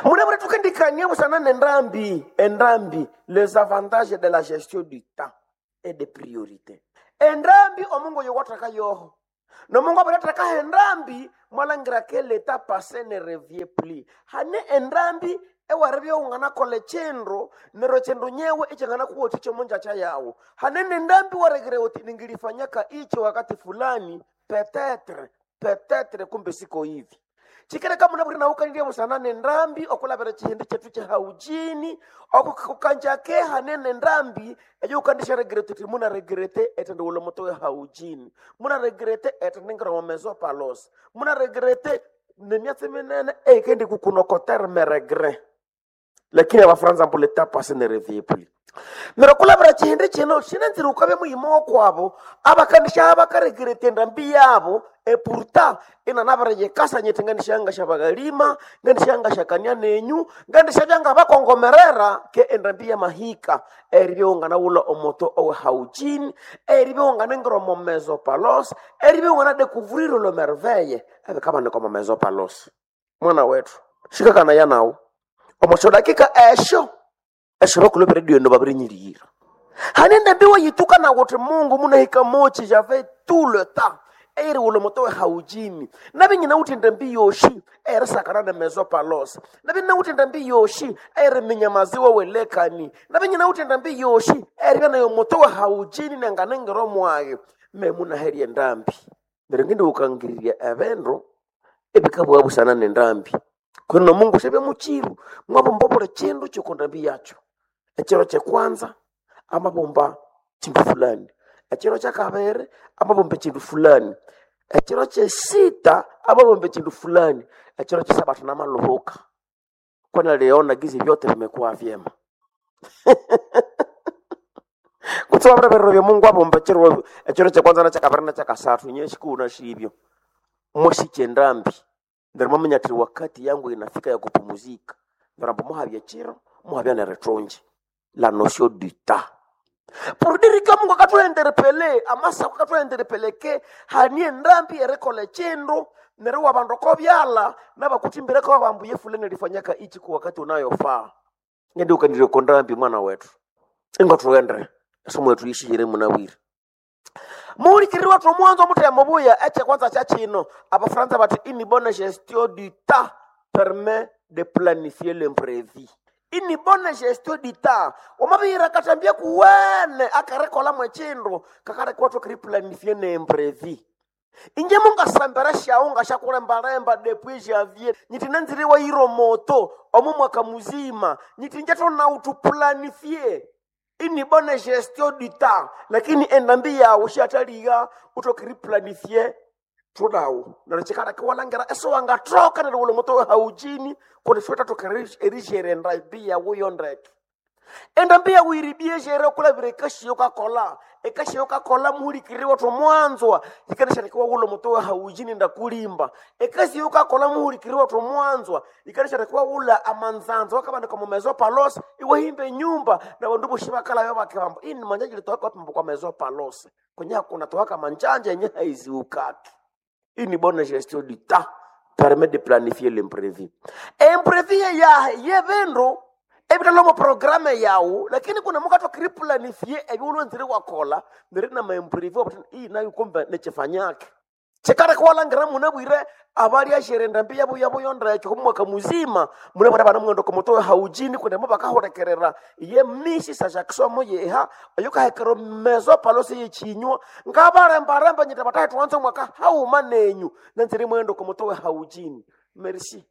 Munabure tukendikania busana nendambi, endambi, les avantages de la gestion du temps et des priorités. Endambi omungu yowathaka yoho. Nomungu abirataka endambi mwalangira ke l'état passé ne revient plus. Hane endambi ewaribya unganakola echindu neryo chindu nyewe ichanganakuwathikya omonjacha yawu. Hane nendambi waregere uti ningilifanyaka ichi wakati fulani peut-être peut-être kumbe siko hivi. Chikereka munabwire naukanirye busana nendambi okulabira chihindi chetu chehaujini okukanjake hanene ndambi eyo ukandisha regrete uti muna regrete etende ulo moto haujini muna regrete etende ngira mezo palos muna regrete nemyatsi minene eikendi kukunokotere meregre lakini abafaransa mbu l'état passé ne revient plus. Neryo kulabira chihindi chino shinenzire ukabya muyima wokwabo abakandisha abakaregrete endambi yabo epurta inanabireyekasa nyete ngandishanga shabagalima ngandishanga shakania nenyu ngandishabya ngabakongomerera ke endambi yamahika eribya unganawula omoto owe haujini eribya unganengira omo mezo palos eribya unganadecouvrir le merveille ebikabanika omo mezo palos. Mwana wetu shikakana yanawu omosho dakika esho esho bakulopera dio babirinyirira hanende mbiwe yituka na kuti Mungu munahika mochi j'avais tout le temps eri ulo motowe haujini nabi nyina uti ndembi yoshi eri sakana ne mezo palos nabi nyina uti ndembi yoshi eri minyamaziwa welekani nabi nyina uti ndembi yoshi eri bana yo motowe haujini nanganengero mwaye me munaheri endambi neryo ngindi ukangiriria ebindu ebikabwa busana nendambi kuno Mungu shebe muchiru mwabomba buli chindu chikundambi yacho echiro chekwanza amabomba chindu fulani echiro cha kabiri amabomba chindu fulani echiro chesita amabomba chindu fulani echiro chesabatu namaluhuka kwani aliona gizi vyote vimekuwa vyema. Kutsuwa birero bya Mungu abomba echiro echiro chekwanza na chakabiri na chakasathu nyeshikuna shibyo mwashike ndambi neryo mwamanya ati wakati yangu inafika ya kupumuzika neryo ambu muhabya chiro muhabya neretonje la notion du temps pour dire que Mungu akathuenderepele amasa akathuenderepeleke hanie ndambi erekola chindu neryo wabandu kobyala nabakutimbireko babambuye fulani alifanyaka ichi kwa wakati unayofaa ngende ukandire kondambi mwana wetu ingo tuende somo yetu ishihire munawiri muhulikiriri wathu omwanzo omutemo buya eche kwanza cha chino abafaransa bati une bonne gestion du temps permet de planifier l'imprévu. Une bonne gestion du temps wamabihira katambia kuwene akarekola mwechindu kakareka wathu kiriplanifie n'imprévu. Inje mungasambera shaunga shakulembalemba depuis janvier nyiti nanziriwa iro moto omu mwaka muzima nyiti nje tonautu planifie ini bonne gestion du temps lakini endambi yawu shataliga utokiriplanifie tunawu neryo chikala kiwalangira esiwangathoka neryo wuli muto haujini kundi siwethathoka erishere endambi yawu yondeke endambi yawu iribie shere okulavira ekashiyo kakola ekashiyo kakola muhulikiriri wathu mwanzwa yikanasharekiwa wulo muto haujini ndakulimba ekashiyo kakola muhulikiriri wathu mwanzwa yikanasharekiwa wula amanzanzo wakabanika mumezo palos iwahimba enyumba na bandu boshi bakalayo bakibamba ini manjanja litowaka wapimba kwa mezo palos kwenye hakuna towaka manjanja yenye haiziukaki. Une bonne gestion du temps permet de planifier l'imprévu. Imprévu yahe yevindu ebitalomo programme yawu lakini kuna mukato kiriplanifie ebyulwenzire wakola neri na maimprévu wabati iyi nayo kumbe nechifanyake chikara kwalangira munabwire abali ashere ndambi yabo yabo yondeke kumwaka muzima munabwire bana mwendo komoto haujini kundi mo bakahurekerera ye mishi sa jackson yeha ayukahekero mezo palose yechinywa ngabarembaremba nyita batahe tuanze mwaka hauma nenyu nanzire mwendo komoto haujini merci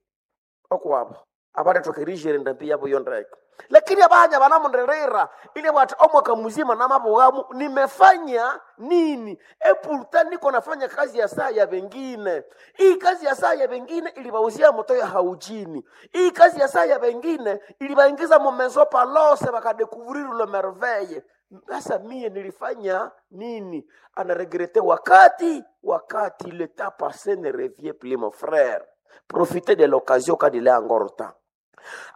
okwabo abarethokerijere ndambi yabo yondeke lakini abanya banamunderera ile bwati omwaka muzima namabughamu nimefanya nini epulta niko nafanya kazi ya saa ya vengine. Hii kazi ya saa ya vengine ilibauzia moto ya haujini. Hii kazi ya saa ya vengine ilibaingiza mumezo palose bakadekuvrir le merveille. Sasa mie nilifanya nini? Anaregrete wakati wakati le temps passé ne revient plus mon frère. Profitez de l'occasion quand il est encore temps.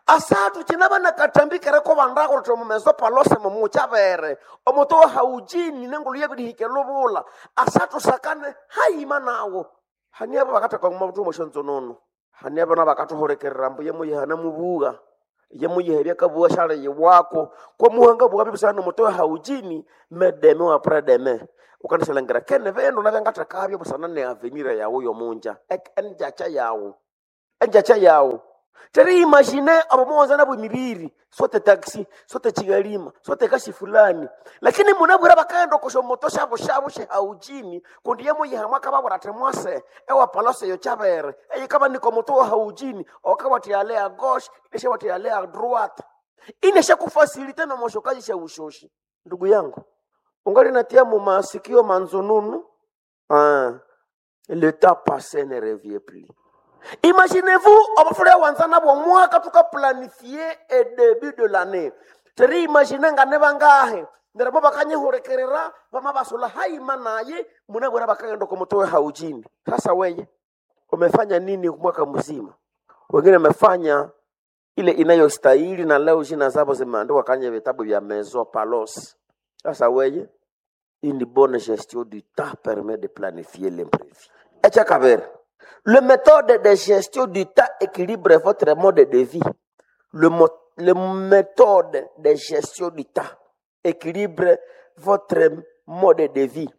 Asatu chinaba nakatambikire ko bandako to mumezo palose mumuchavere omoto haujini nengulu yebidihike lubula asatu sakane haima nawo hani abo bakata kwa mtu moshonzo nono Hane abana bakathuhulikirira ambu yemuyiha mubuga yemuyiha ebyakabuga syali yiwako kwamuhanga buga bibisana nomutowe haujini medeme wa predeme ukandisyalhangira kene bindu nabyangathekabyo busana ne avenir yawu yomunja enjacha yawu enjacha yawu. Teri imagine abo muwanza nabo emibiri sote taxi sote chigalima sote kasi fulani, lakini munabwira bakaghenda okosho moto shabo shabo shehaujini kundi yemuyiha mwakababwira ati mwase ewapalose eyo chabere eyikaba niko moto wa haujini okawati ale a gauche ineshawati ale a droite ineshakufasilite nomoshokazi sha ushoshi. Ndugu yangu, ungali natia mumasikio manzununu. Ah, le temps passé ne revient plus. Imaginez-vous, obufule wanza nabwo mwaka tukaplanifie e début de l'année. Teri imagine nga ne bangahe neryo bo bakanyihulikirira bama basula haima naye munabwera bakaghenda okumutowe haujini. Sasa weye umefanya nini mwaka mzima? Wengine wamefanya ile inayostahili na leo jina zabo zimeandikwa kwenye vitabu vya Maison Palos. Sasa weye, une bonne gestion du temps permet de planifier l'imprévu. Echakabere, le méthode de gestion du temps équilibre votre mode de vie. Le méthode de gestion du temps équilibre votre mode de vie.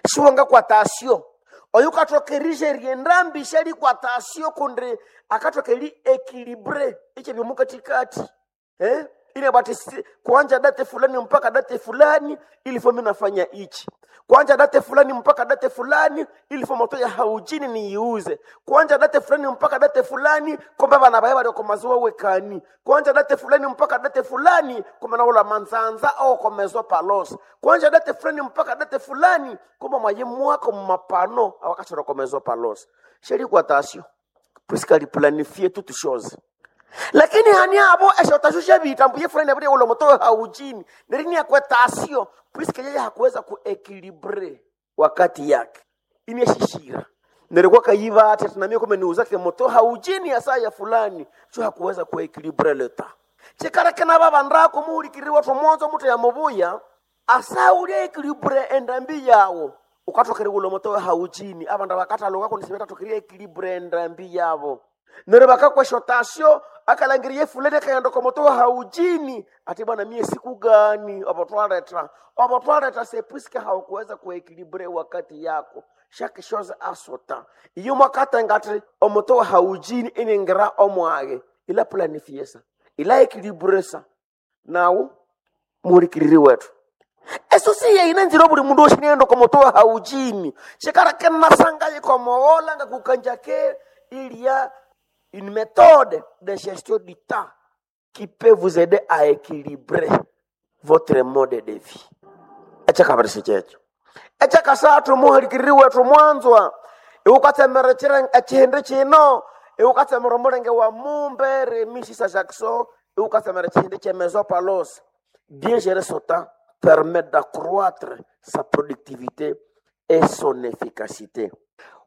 Siwanga kwa tasio oyo ukathokerije riendambi shali kwa tasio kundi akathokeri équilibre iche byomukatikati eh? Ile bati kuanja date fulani mpaka date fulani ilifo mimi nafanya ichi, kuanja date fulani mpaka date fulani ilifo moto ya haujini niiuze, kuanja date fulani mpaka date fulani komba bana baye bali komaziwa wekani, kuanja date fulani mpaka date fulani komba naola manzanza au komezo palos, kuanja date fulani mpaka date fulani komba mwaye mwako mapano awakachora komezo palos sheri kwa tasio puisque ali planifier toutes choses, lakini hani abo eshotasho bita mbuye fulani abiri ulo moto haujini nerini akwetasio puisque yeye hakuweza kuequilibre wakati yake ineshishira nerikuwa kayiva ati tunamia kome niuzake moto haujini ya saa ya fulani cho hakuweza kuequilibre leta chikareke na babandako muhulikiriri watu mwanzo mutu ya mubuya asa ulia equilibre endambi yawo ukatokere ulo moto haujini abandu bakataloka kunisibeta equilibre endambi yabo neryo bakakweshotasyo akalangiriye fulani akaghenda okomoto haujini ati bwana mie siku gani obotwaleta obotwaleta sepuisike haukuweza kuekilibre wakati yako chaque chose a son temps iyo mwakatenga ati omoto wa haujini iningira omwage ila planifie sa ila ekilibre sa nawu muhulikiriri wetu eso si yeine nzira buli mundu oshinienda okomoto wa haujini shikara kenasanga yikomowola nga kukanjake il y a une méthode de gestion du temps qui peut vous aider à équilibrer votre mode de vie. Echakabirisi kyekyo echakasathu muhulikiriri wethu mwanzwa iwukatsemera echihindi kino iwukatsemera omulenge wa mumbe remisisa Jackson iwukatsemera echihindi kye Maison Palos. Bien gérer son temps permet d'accroître sa productivité et son efficacité.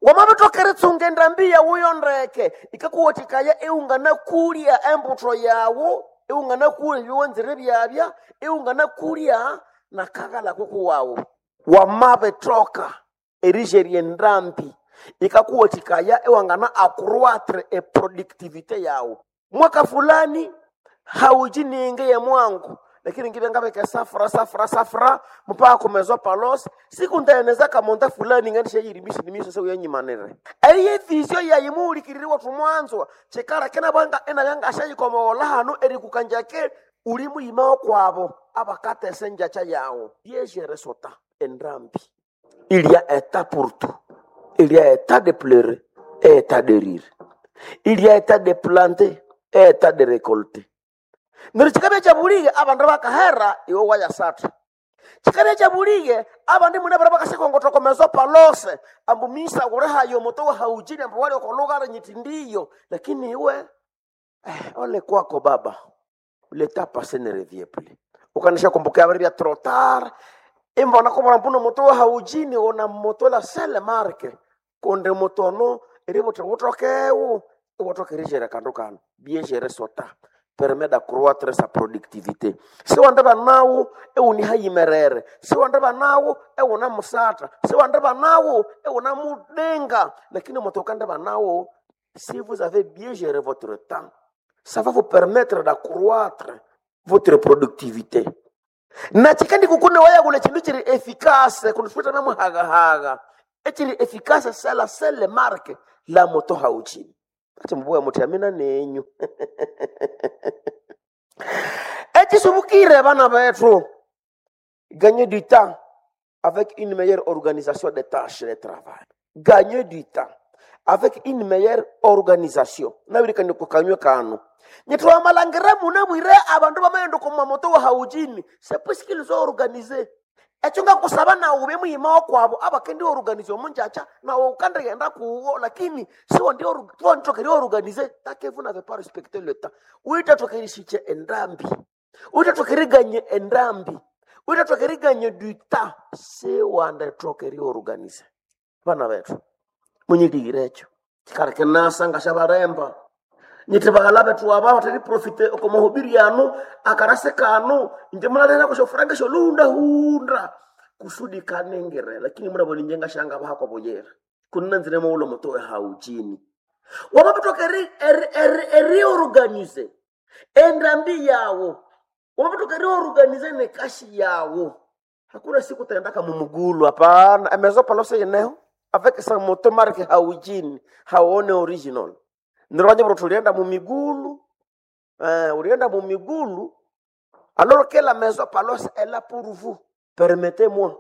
Wamabithoka eritsunga endambi yawu yondeke ikakuwathikaya iwunganakulya embutho yawu iwunganakulya ebyowanzire byabya iwunganakulya nakaghala kukuwawu. Wamabithoka erijerya endambi ikakuwathikaya iwangana accroître eproductivité yawu. Mwaka fulani haujininge ye mwangu lakini ngibya ngabeka safra safra safra mpaka kumezwa palos siku ndaeneza kamonda fulani ngandisha yirimisha nimisha seku yanyimanire eye visio yayimuhulikiriri wethu mwanzwa chikara kenabanga enayanga ashayikomowola hanu erikukanjake uli muyima kwabo abakatesa enjacha yawo yejere sota endambi. Il y a un temps pour tout. Il y a un temps de pleurer et un temps de rire. Il y a un temps de planter et un temps de récolter. Neryo kikabya kyabulige abandu bakahera iwe wayasatha. Kikabya kyabulige abandi mune bara bakasyakongothwa okomezo palose ambu misa wulihayo omuto wahaujini ambu wali okolugara nyiti ndiyo, lakini iwe ole kwako baba le temps passé ne revient plus. Ukanisha kumbuka abari bya trop tard imbona kubona mbuno moto haujini ona moto la sele marke konde motono eributhi wutokewu iwathokerijera kandu kano. Bien gérer son temps permet d'accroître sa productivité. Siwandeba nawu ewunihayimerere, siwandeba nawu ewunamusatha, siwandeba nawu ewunamudenga, lakini moto ukandeba nawu Si vous avez bien géré votre temps, ça va vous permettre d'accroître votre productivité. Na chikandi kukune waya kule chindu chiri efficace kunifita na muhagahaga echiri efficace c'est la seule marque la moto hauchini ati mbuya muti amina nenyu echisubukire bana bethu. Gagner du temps avec une meilleure organisation des tâches de travail. Gagner du temps avec une meilleure organisation. Nabirikani kukanywe kano. Nyitwamalangire munabwire abandu bamaghenda oku mamoto wa haujini. C'est puisqu'ils ont organisé. Ekyo ngakusaba nawe ube muyima wakwabo abakendi organize omunjacha nawe ukandighenda kuwo lakini siwanditokeri organize take vous n'avez pas respecté le temps. Uitatokerisiche endambi. Uitatokeriganye endambi. Uitatokeriganye du temps. Siwanditokeri organize. Bana bethu munyiligire ekyo kikaleka nasa ngashabalemba nyiti baghala bethu aba batali profite oko mahubiri anu akarase kanu inje mulalera kushofuranga sholundahunda kusudi kanengere lakini munabona inje ngashanga bahako buyera kunina nzire mawulo mutowe hauchini wamapitoka eriorganize endambi yawo wamapitoka eriorganize nekashi yawo. Hakuna siku utaendaka mumugulu, hapana. Emezo palose yeneho avec sa moto marque haujini haone original nirwanye bro tulienda mumigulu ulienda mumigulu alors que la maison palos est là pour vous. Permettez-moi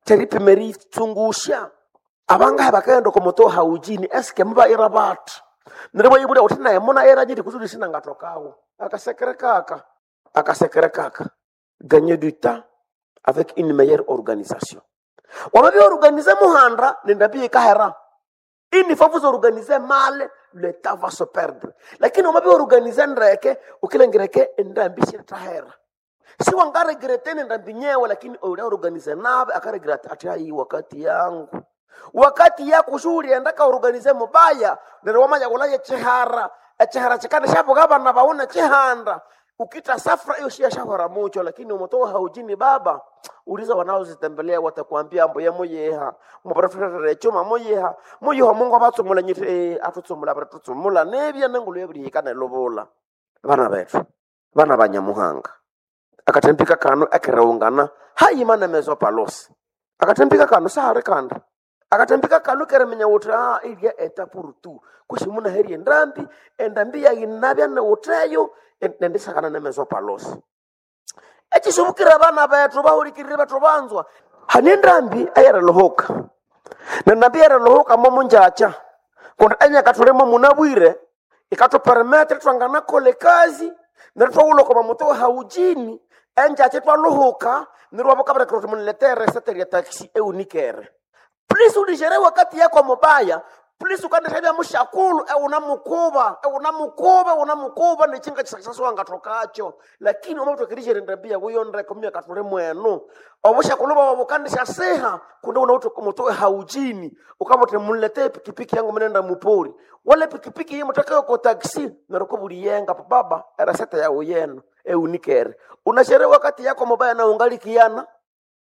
teripimeri tsungusha abanga bakaenda ko moto haujini eske muba ira batu nirwo yibuda uti naye muna era nyiti kusudi sina ngatokawo akasekere kaka akasekere kaka. Gagner du temps avec une meilleure organisation. Wamavyorganize muhanda nendambi ikahera. Une fois vous organisez mal, le temps va se perdre. Lakini wamavyorganize ndreke ukilengereke endambi shitahera. Si wangaregrete nendambi nyewe lakini ulaorganize nabe akaregrete ati ai wakati yangu. Wakati yako shughuli endaka organize mubaya neryo wamanya kulaye chihara echihara chikana shabuka abana bauna chihanda ukita safra hiyo shia shahora mucho lakini umetoa haujini baba. Uliza wanaozitembelea watakwambia mbo ya muyeha muprofesa chuma muyeha muyeha Mungu abatsumula nyiti atutsumula abatutsumula nebya nengulu yebirihikana lobola bana bethu bana banyamuhanga akatembika kano ekereungana hayimana mezo palosi akatembika kano sahari kanda akatembika kano keremenya wuthi ah ilya eta purutu kushimuna heri endambi endambi yayinabya newutheyo nendisakana nemezo palosi echisubukira abana bethu bahulikirire bethu banzwa hani endambi eyerilohoka nendambi eyerilohoka momunjacha kundi enyaka thulimo munabwire ikathupermetre twanganakola ekazi neryo twawulha mamoto haujini enjacha twaluhuka neryo wabukabireka uthi muniletere esete lya taxi eunikere. Please ulijere wakati yako mubaya. Please ukandishabya mushakulu euna mukuba euna mukuba euna mukuba nechinga chisakisaswa ngatokacho lakini umatokirishere ndambia kuyondreka myaka tuli mwenu obushakulu bwawe bukandisha siha kundi unauti mutoe haujini ukamuti munletee pikipiki yangu mnenda mupori wale pikipiki iyi mutakayo ko taxi neryo buliyenga baba erasete yawo yenu eunikere unashere wakati yako mubaya na ungalikiana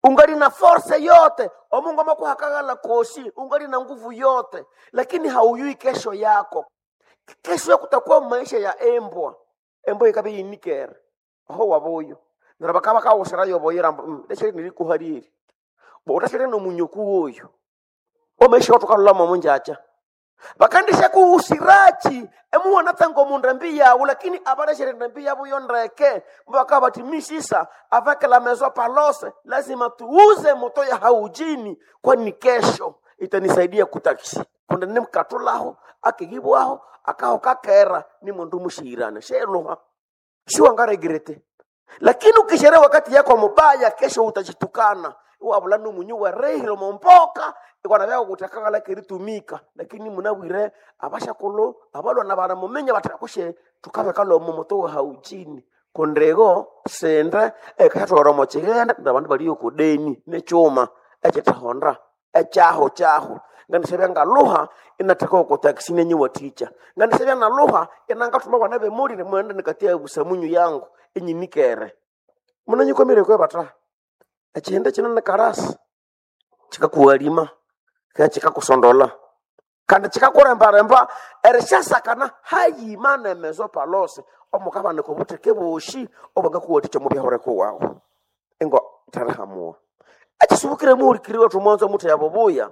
ungali na force yote omungu amakuhakagala kosi ungali na nguvu yote lakini hauyui kesho yako. Kesho yako kutakuwa maisha ya embwa embwa ikabe yinikere aho waboyo nero bakaba kawosera yoboyera ndeshere nilikuhariri bo utashere no munyoku oyo omaisha watukalula munjacha bakandisha kuusirachi emuwana tsango mundambi yawo lakini abaleshere ndambi yabo yondreke bakaba bati misisa avec la maison palose lazima tuuze moto ya haujini kwani kesho itanisaidia kutaksi kunda nimkatulaho akigibwaho akaho kakera ni mundu mushirana sheluha siwangaregrete lakini ukishere wakati yako mubaya kesho utajitukana wabula numunyu werehile mompoka ikwana vyako kutakakala keritumika lakini munabwire abashakulu abalwana bana mumenya batakushe tukabeka lomo moto haujini kundego sende ekatwara mochigenda ndabandu baliyo kudeni nechuma echitahonda echaho chaho nganisebya ngaluha inataka ko taxi nenyi waticha nganisebya naluha inangatuma bana bemuli nimwenda nikatia busamunyu yangu inyinikere munanyikomire kwe bata echihende chino ni karasi chikakuwalima kaya chikakusondola. Kandi kikakurembaremba erishasakana hayima nemezo palose omukabanika obutheke boshi obwangakuwathikya omu byahureko wawu. Ingo tharihamuwa. Ekisubukire muhulikiri wethu mwanzo omuthi yabubuya.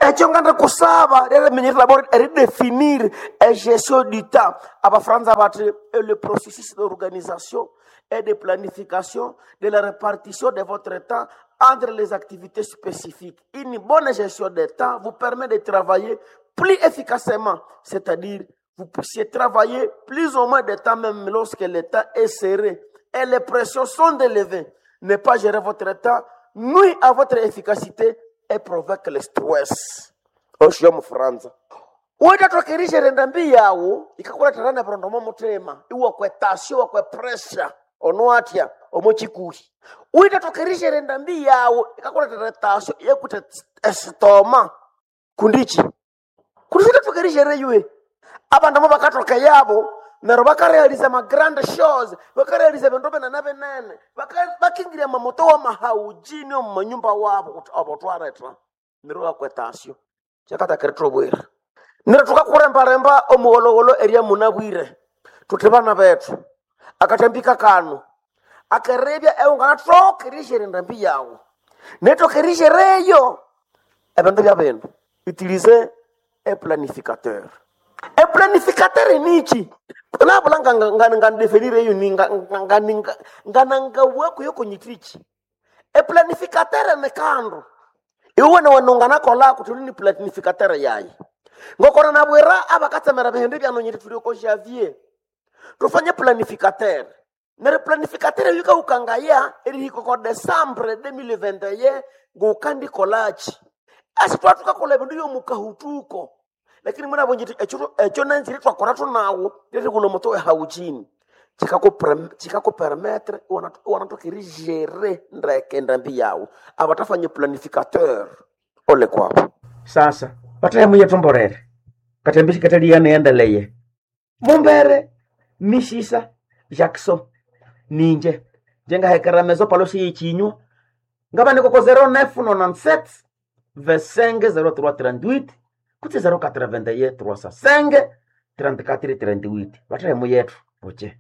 Ekyo ngandi kusaba lyeriminyerera d'abord eridefinir egestion du temps. Abafaransa bati "Et le processus d'organisation et de planification de la répartition de votre temps entre les activités spécifiques. Une bonne gestion des temps vous permet de travailler plus efficacement, c'est-à-dire vous puissiez travailler plus ou moins de temps même lorsque le temps est serré et les pressions sont élevées. Ne pas gérer votre temps nuit à votre efficacité et provoque le stress. Osho Mufransa. Uitatokerishe ndambi yawu ikakuletera nebirondo mo mutima iwakwe tasio wakwe pressure ono atya omo chikuhi. Uitatokerishe ndambi yawu ikakuletera tasio yekute esitoma kundichi. Kundi uitatokerishe yue. Abandu abo bakatoka yabo neryo bakarealiza ma grand shows, bakarealiza bindu binene binene, bakingirya amamoto wamahaujini omu manyumba wabo kuti abo twaretha neryo bakwetasyo kyakatakiri thubwire. Neryo thukakurembaremba omugholhogholho erya munabwire thuthi bana bethu akathambika kano akerebya eunganathoka erishyera endambi yawu nethoka erishereyo ebindu bya bindu utilize eplanificateur. Eplanificateur nichi nabula ngandefinire eyo nganangabwako yokonyitichi. Eplanificateur ni kandu iwe niwene unganakolako thuli ni planificateur yayi ngokona nabwira abakatsemera bihindi byanonyiti thuli oko Javier tufanye planificateur neryo planificateur yikahukangaya erihika oko Decembre 2021 ngukandikolachi esi twathukakolha ebindu byomukahutuko lakini munabonye ekyo ekyo nanzire twakora thunawo lyerighulha omuto wehauchini chikakupermettre iwanathoka erigere ndeke endambi yawu abathafanya planificateur ole kwabo. Sasa bathahemuye thumborere kathembi sikathaliyana niendeleye mumbere misisa Jackson ninje njengahekera mezo palosi yechinywa ngabanikoko 0997 25 0338 kutse 081 305 34 38 bathahemuyetu buche.